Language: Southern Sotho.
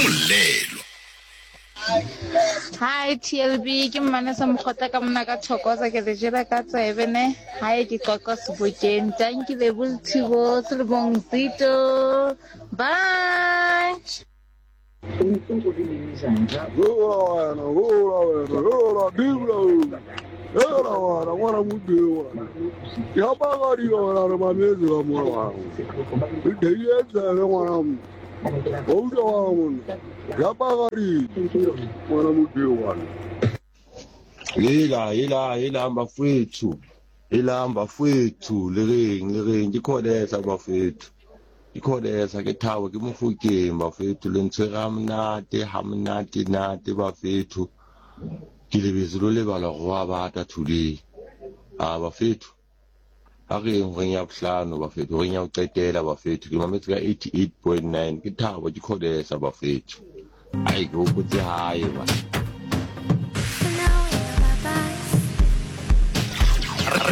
Molelwa. Hi TLB ke Mmanesa Mokgotla ka mona ka Thokoza ke le jela ka tsebe ne hae ke qoqa sebokeng tanki lebo le thibo selemong zito bye. Hela hela hela bafowethu helang bafowethu le reng le reng ke khodesa bafowethu ke khodesa ke thabo ke mofokeng bafowethu le ntshwere ha monate ha monate nate bafethu ke lebetse lo lebala gore wa bata today a bafethu A re yeng horeng ya bohlano bafethu, horeng ya ho qetela bafethu. Ke mametse ka 88.9 ke thabo ke khodesa bafethu. Ai ke hopotse hae ba.